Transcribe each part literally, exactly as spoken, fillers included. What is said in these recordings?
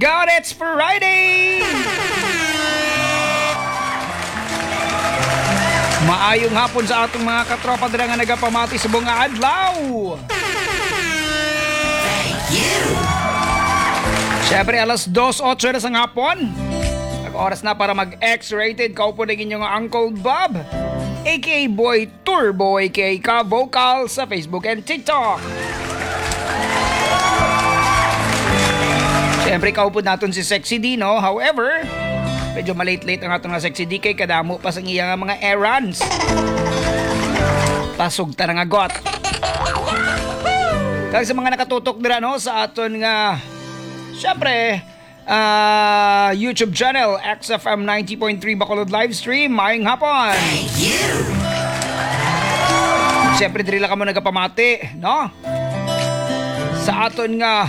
God, it's Friday! Maayong hapon sa atong mga katropa dira nga nagapamati subong nga adlaw. Thank you. Siyempre, alas dos otso na sa hapon. Ang oras na para mag-X-rated. Kaupo na inyong Uncle Bob, A K A Boy Turbo, A K A Ka Vocal sa Facebook and TikTok. Siyempre, kaupod naton si Sexy D, no? However, medyo malate-late ang aton nga Sexy D kay kadamo pa sang iya nga mga errands. Pasugta na nga got. Kag sa mga nakatutok dira, no, sa aton nga, siyempre, ah, YouTube channel, X F M ninety point three Bacolod live stream, maayong hapon. Thank you. Siyempre, diri lang kamo nagapamati, no? Sa aton nga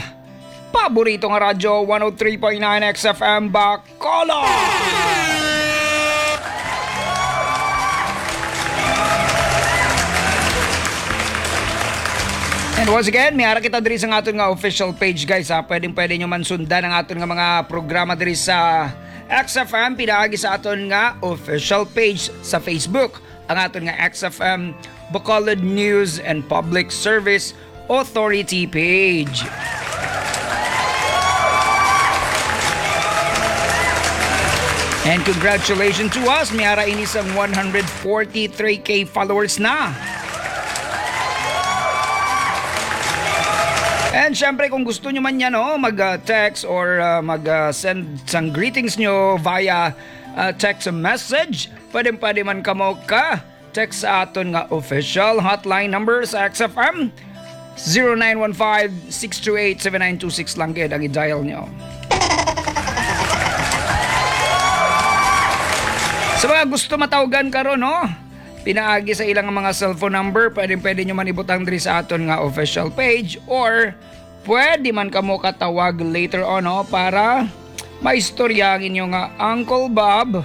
paborito nga radyo, one oh three point nine X F M Bacolod. And once again, may ara kita diri sa aton nga official page, guys, ha. Pwedeng-pwede nyo man sundan ang aton nga mga programa diri sa X F M, pinaagi sa aton nga official page sa Facebook, ang aton nga X F M Bacolod News and Public Service Authority page. And congratulations to us, may ara ini sang one hundred forty-three K followers na. And syempre, kung gusto nyo man yan, no, mag-, ah, text or, ah, mag-, ah, send sang greetings nyo via, ah, text message, pwede, pwede man kamo ka text sa aton nga official hotline number sa X F M, zero nine one five, six two eight, seven nine two six lang gid ang i-dial nyo. Sa mga gusto matawgan karon, no? Pinaagi sa ilang mga cellphone number, pwede, pwede nyo man ibutang diri sa aton nga official page, or pwede man kamo katawag later on, no? Para maistorya ang inyo nga Uncle Bob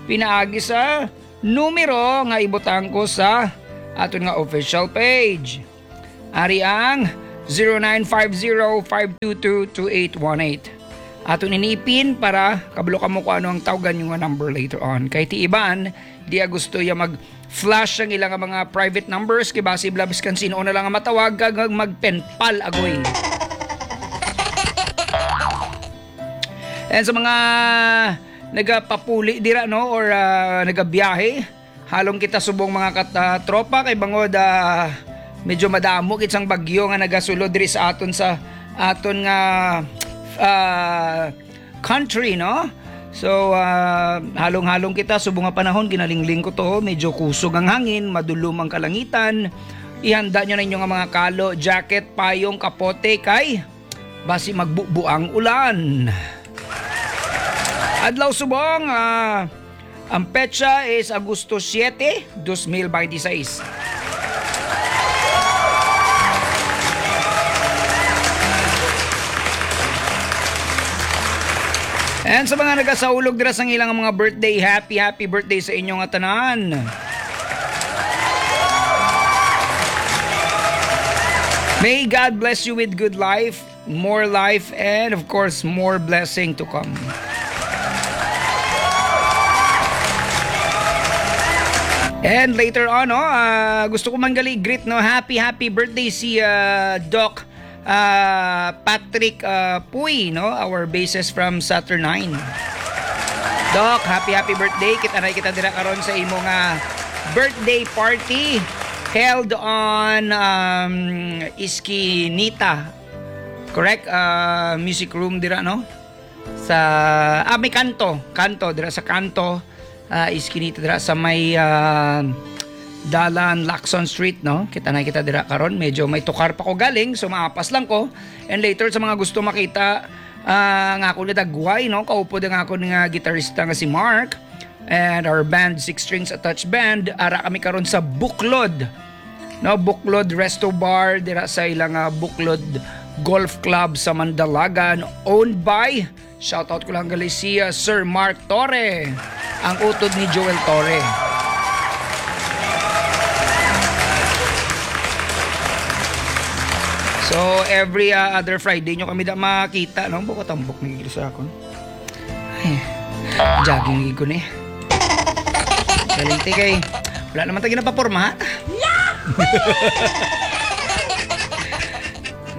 pinaagi sa numero nga ibutang ko sa aton nga official page. Ari ang zero nine five zero five two two two eight one eight. Aton ini i-pin para kabalo kamo kung ano ang tawgan nyo nga number later on. Kay ti iban, di gusto ya mag-flash ang ilang mga private numbers, kay basi bala biskan sino na lang ang matawag kag mag-penpal, agoy. And sa mga nagapapuli dira, no, or, ah, nagabiyahe, halong kita subong mga kat-, ah, tropa, kay bangod, ah, medyo madamo gid sang bagyo nga nagasulod diri sa aton, sa aton nga, ah, country, no? So, ah, halong-halong kita subong nga panahon, ginalingling ko to, medyo kusog ang hangin, madulom ang kalangitan. Ihanda nyo na inyo nga mga kalo, jacket, payong, kapote, kay basi magbubo ang ulan. Adlaw subong, ah, ang petsa is Agosto siete, dos mil beintiseis. And sa mga nagasaulog dira sang ilang mga birthday, happy, happy birthday sa inyo nga tanan. May God bless you with good life, more life, and of course, more blessing to come. And later on, no, ah, gusto ko man gali greet, no, happy, happy birthday si, ah, Doc, ah, Patrick, ah, Puy, no, our bassist from Saturnine. Doc, happy, happy birthday. Kita na kita dira karon sa imo nga birthday party held on, um, Eskinita. Correct? Ah, music room dira, no? Sa, ah, may kanto. Kanto, dira sa kanto. Ah, Eskinita dira sa may, ah, dalan Lacson Street, no? Kita na kita dira karon. Medyo may tukar pa ko galing, so maapas lang ko. And later, sa mga gusto makita, ah, ang akon nga dagway, no? Kaupod ang akon nga gitarista nga si Mark. And our band, Six Strings Attached Band, ara kami karon sa Buklod. No, Buklod Resto Bar, dira sa ilang, ah, Buklod Golf Club sa Mandalagan, owned by, shoutout ko lang gali si, ah, Sir Mark Torre, ang utod ni Joel Torre. So, every, ah, other Friday nyo kami da makita, no? Buko tambok na gid sa akon. Ay, jogging gid ko ni. Galing ti kay wala naman tayo napaporma, ha?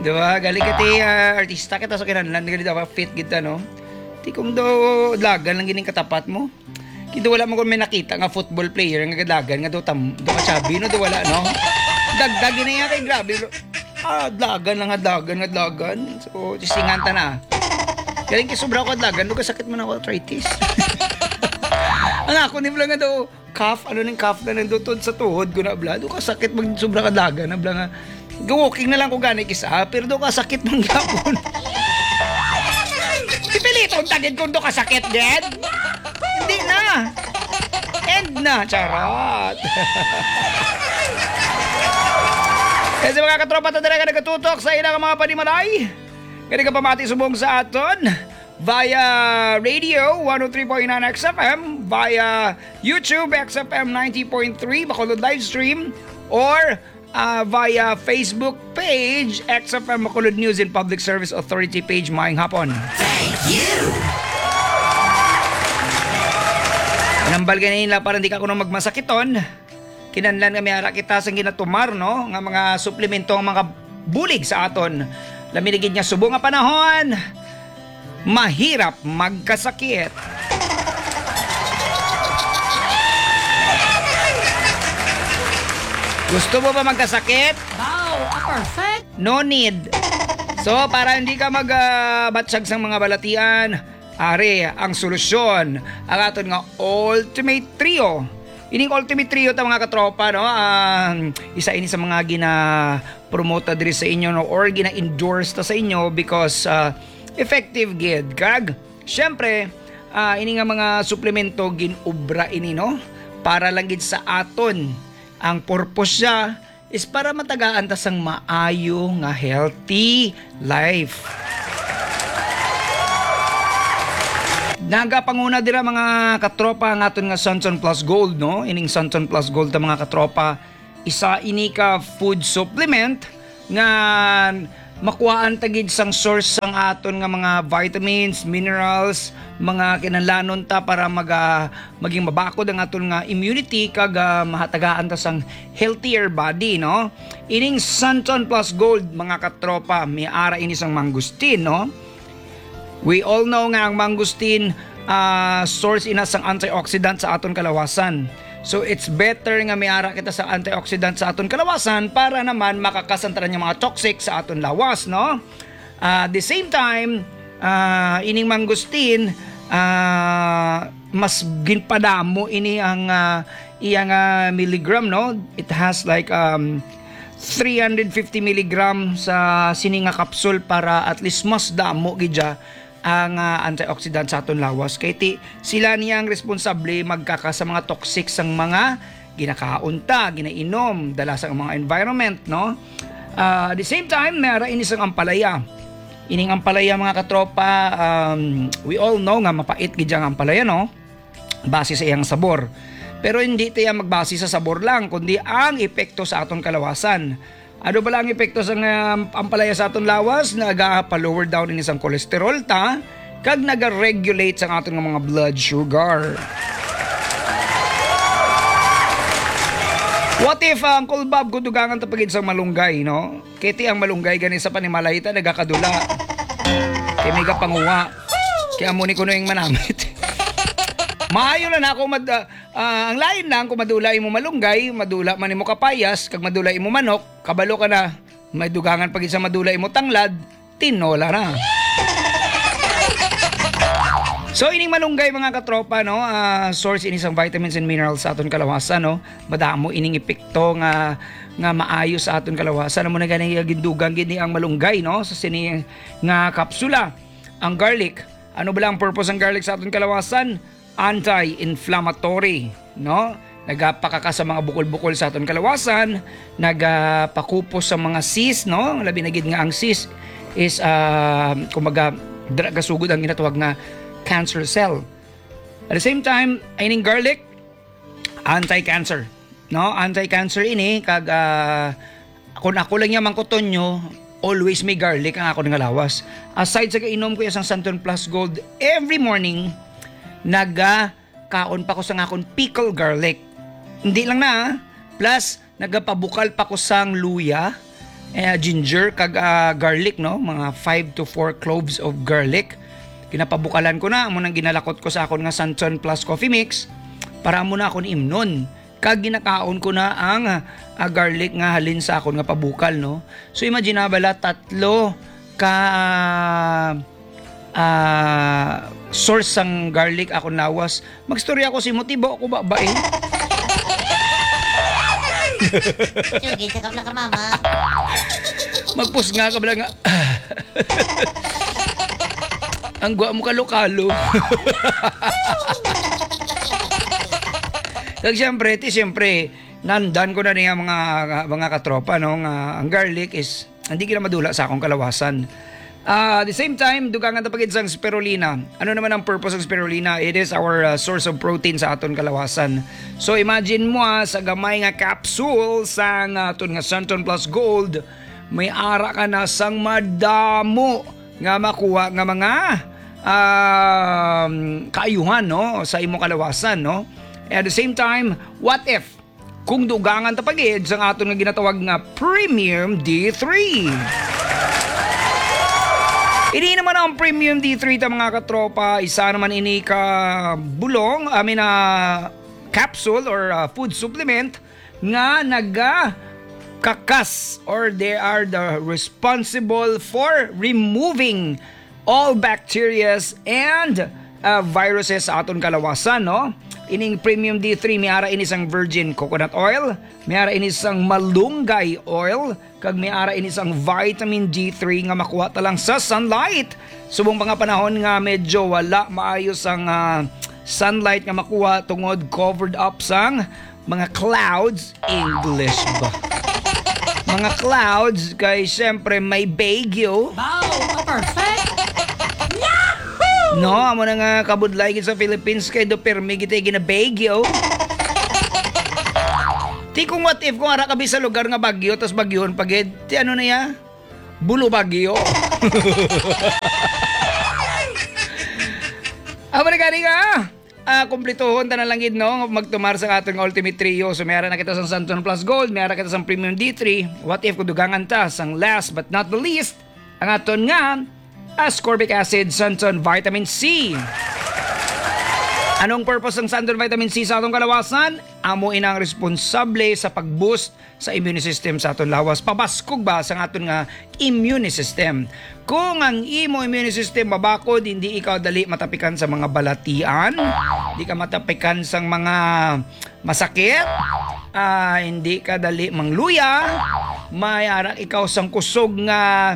Di ba? Galing ka ti, ah, artista kita sa kinahanglan, galing dapat fit kita, no? Ti kung do, dalagan lang gining katapat mo. Kay do wala mo kung may nakita nga football player nga kadalagan nga do tam, do ka chubby, no? Do wala, no? Dagdag yun na yan kay grabe, bro. Ah, dalagan lang, dalagan, dalagan. So, tisingan ta na. Galing kay sobra ko dalagan, do kasakit man ako arthritis. Ang ako ni lang nga do, calf, ano ning calf na nandutod sa tuhod ko na, bla. Do kasakit mag sobra ka dalagan na, bla, nga. Ga-walking na lang ko gani kisa, pero do kasakit man gyapon. Pipiliton tagid kung do kasakit, gid. Hindi na. End na. Charot. Kasi mga katropa, ta dira nga nagatutok sa ilang mga panimalay. Kani ka pamati subong sa aton via radio one oh three point nine X F M, via YouTube X F M ninety point three Bacolod live stream, or, ah, via Facebook page X F M Bacolod News and Public Service Authority page. Maayong hapon. Thank you. Nambal ganina para hindi ka kuno magmasakiton. Kinahanglan nga may ara kita sang ginatumar, no, nga mga suplemento ang mga bulig sa aton. Lami na gid nga subong nga panahon, mahirap magkasakit. Gusto mo ba magkasakit? Wow, a perfect! No need. So, para hindi ka mag, ah, batsyag sang mga balatian, ari ang solusyon, ang aton nga Ultimate Trio. Ining Ultimate Trio ta, mga katropa, no? Ah, isa ini sa mga gina-promote ta diri sa inyo, no? Or gina-endorse ta sa inyo because, ah, effective gid. Kag, syempre, ah, ini nga mga suplemento, gin-obra ini, no? Para lang gid sa aton. Ang purpose siya is para matagaan ta sang maayo nga healthy life. Nagapanguna dira, mga katropa, ang aton nga Santon Plus Gold, no? Ining Santon Plus Gold ta, mga katropa, isa ini ka food supplement nga makuhaan ta gid sang source sang aton nga mga vitamins, minerals, mga kinahanglanon ta para maga-, maging mabakod ang aton nga immunity kag, ah, mahatagaan ta sang healthier body, no? Ining Santon Plus Gold, mga katropa, may ara ini sang mangosteen, no? We all know nga ang mangosteen, ah, source ina sang antioxidant sa aton kalawasan. So, it's better nga may ara kita sa antioxidant sa aton kalawasan para naman makakasantaran yung mga toxic sa aton lawas, no? Ah, at the same time, ah, ining mangosteen, ah, mas ginpadamo ini ang, ah, iya nga milligram, no? It has, like, um, three hundred fifty milligram sa sini nga kapsul para at least mas damo gid siya ang, ah, antioxidant sa aton lawas. Kay ti, sila niya ang responsable magkaka sa mga toxic sang mga ginakaon ta, ginainom, dala sa mga environment, no? Ah, at the same time, may ara ini sang ampalaya. Ining ampalaya, mga katropa, um, we all know nga mapait gid ang ampalaya, no? Base sa iyang sabor. Pero hindi tayo magbase sa sabor lang, kundi ang epekto sa aton kalawasan. Ano bala ang epekto sa nga ampalaya sa aton lawas? Naga-lower down ini sang cholesterol ta, kag naga-regulate sa aton nga mga blood sugar. What if, ah, Uncle Bob, kung dugangan ta pa gid sang malunggay, no? Kay ti ang malunggay gani sa panimalay ta nagakadula. Kay may gapanguha. Kay amo ni kuno yung manamit. Maayo lang ako mad-, ah, ah, ang lain lang kung madula imo malunggay, madula man imo kapayas, kag madula imo manok, kabalo ka na, may dugangan pa gid sa madula imo tanglad, tinola na. So, ining malunggay, mga katropa, no, ah, source ini sang vitamins and minerals sa aton kalawasan, no? Madamo ining epekto nga, nga maayo sa aton kalawasan. Amo na gani nga gindugang gid ni ang malunggay, no, sa sini nga kapsula. Ang garlic, ano bala ang purpose ng garlic sa aton kalawasan? Anti-inflammatory, no? Nagapakaka sa mga bukol-bukol sa aton kalawasan, nagapakupos sa mga cyst, no? Labi na gid nga ang cyst is, ah, kumbaga, dra-, gasugod ang ginatawag nga cancer cell. At the same time, ining garlic, anti-cancer, no? Anti-cancer ini, kag, ah, kung ako lang niya mangkuton nyo, always may garlic ang akon nga lawas. Aside sa gainom ko iya sang Santon Plus Gold every morning, nagakaon pa ko sang akon pickle garlic. Hindi lang na, ah. Plus, nagapabukal pa ko sang luya, eh, ginger, kag, ah, garlic, no? Mga five to four cloves of garlic. Ginapabukalan ko na, amo nang ginalakot ko sa akon nga Santon Plus Coffee Mix para amo na akon imnon. Kag ginakaon ko na ang, ah, garlic nga halin sa akon nga pabukal, no? So, imagine na bala, tatlo ka, ah, source sang garlic akon lawas. Magstorya ko si Motibo, ako ba, ba eh? Sige, sa kabla ka, mama. Magpusnga ka bala nga. Ang gwa mo kalo-kalo. Kag siyempre, ti siyempre, nandan ko na niya mga, mga katropa, no, nga ang garlic is hindi gina madula sa akong kalawasan. Ah, at the same time, dugangan ta pa gid sang spirulina. Ano naman ang purpose ng spirulina? It is our, ah, source of protein sa aton kalawasan. So imagine mo, ah, sa gamay nga capsule sang aton nga Santon Plus Gold, may ara ka na sang madamo nga makuha nga mga, um, kaayuhan, no, sa imo kalawasan, no? At the same time, what if kung dugangan ta pa gid sang aton nga ginatawag nga Premium D three? Ini naman ang Premium D three ta, mga katropa, isa naman ini ka bulong, I mean, ah, capsule or, ah, food supplement nga naga kakas, or they are the responsible for removing all bacterias and, uh, viruses sa aton kalawasan, no? Ining Premium D three, may ara ini sang virgin coconut oil, may ara ini sang malunggay oil, kag may ara ini sang vitamin D three nga makuha ta lang sa sunlight. Subong pa nga panahon nga medyo wala maayo sang, ah, sunlight nga makuha tungod covered up sang mga clouds, English ba? Mga clouds, kay siyempre may bagyo. Wow, perfect! Yahoo! No, amo na nga kabudlay gid sa Philippines kay do permi gid gina bagyo. Ti kung what if kung ara ka bi sa lugar nga bagyo tas bagyuhon pa gid, ti ano na ya? Bulo bagyo. Amo na gani nga. Ah, kumplituhon ta na lang gid, no? Magtumar sa aton nga Ultimate Trio. So, may ara na kita sang Santon Plus Gold, may ara kita sang Premium D three. What if kung dugangan ta sang last but not the least, ang aton nga ascorbic acid, Santon Vitamin C. Anong purpose ng Santon Vitamin C sa atong kalawasan? Amo ina ang responsable sa pag-boost sa immune system sa aton lawas. Pabaskog ba sa aton nga immune system? Kung ang imo immune system mabakod, hindi ikaw dali matapikan sa mga balatian, di ka matapikan sang mga masakit, ah, hindi ka dali mangluya, may ara ikaw sang kusog nga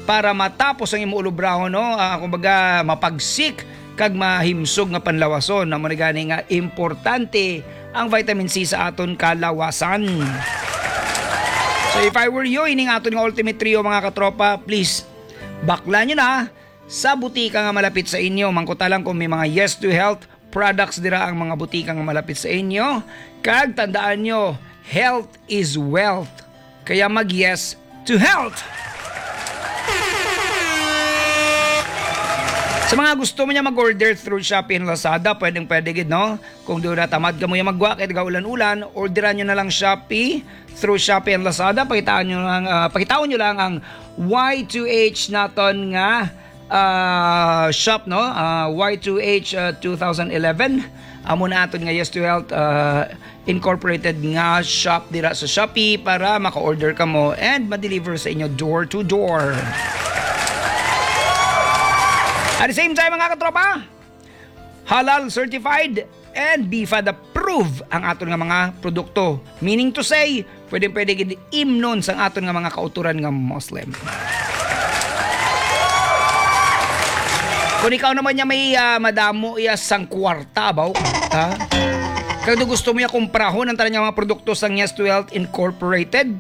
para matapos ang imo ulobrahon, no? Ah, kumbaga, mapagsik kag mahimsog nga panlawason. Amo ni gani nga importante ang vitamin C sa aton kalawasan. So, if I were you, ining aton nga Ultimate Trio, mga katropa, please, bakla nyo na sa butika nga malapit sa inyo. Mangkuta lang kung may mga Yes to Health products dira ang mga butika nga malapit sa inyo. Kag tandaan nyo, health is wealth. Kaya mag-yes to health! Sa mga gusto mo niya mag-order through Shopee and Lazada, pwedeng pwede gid, no? Kung doon natamad ka mo yung magwa, kaya taga ulan-ulan, orderan nyo na lang Shopee through Shopee and Lazada. Pakitaan nyo lang, ah, pakitaan nyo lang ang Y two H naton nga, ah, shop, no? Ah, Y two H, ah, two thousand eleven. Amo na aton nga Yes to Health, ah, Incorporated nga shop dira sa Shopee para maka-order ka mo and ma-deliver sa inyo door to door. At the same time, mga katropa, halal certified and BFAD approved ang aton nga mga produkto. Meaning to say, pwede pwede gid imnon sang aton nga mga kauturan nga Muslim. Kung ikaw naman niya may, ah, madamo iya sang kwarta, baw, ha? Kag do gusto mo iya kumprahon ang tanan nga mga produkto sang Yes to Health Incorporated,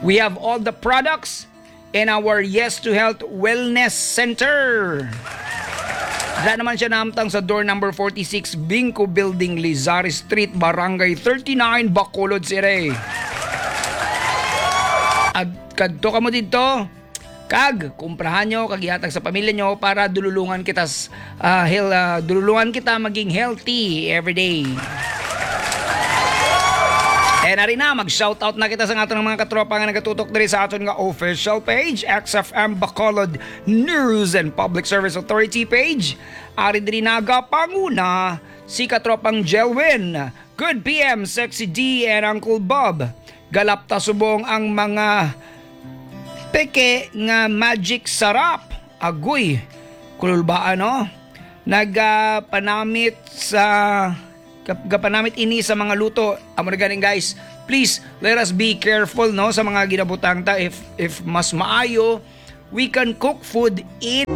we have all the products in our Yes to Health Wellness Center. Dira naman siya nahamtang sa door number forty-six, Bingco Building, Lizari Street, Barangay thirty-nine, Bacolod City. Ag-, kadto ka mo dito, Kag kumprahan nyo, kag ihatag sa pamilya nyo para dululungan kita s-, ah, hel-, ah, dululungan kita maging healthy every day. And ari na, mag-shoutout na kita sa aton mga katropa nga nagatutok diri sa aton nga official page, X F M Bacolod News and Public Service Authority page. Ari diri nagapanguna si katropang Jelwin. Good P M, Sexy D and Uncle Bob. Galapta subong ang mga peke nga magic sarap. Agoy, kululbaan, no? Nagapanamit sa, gap-, gapanamit ini sa mga luto. Amo na ganing, guys. Please, let us be careful, no, sa mga ginabutang ta. If, if mas maayo, we can cook food in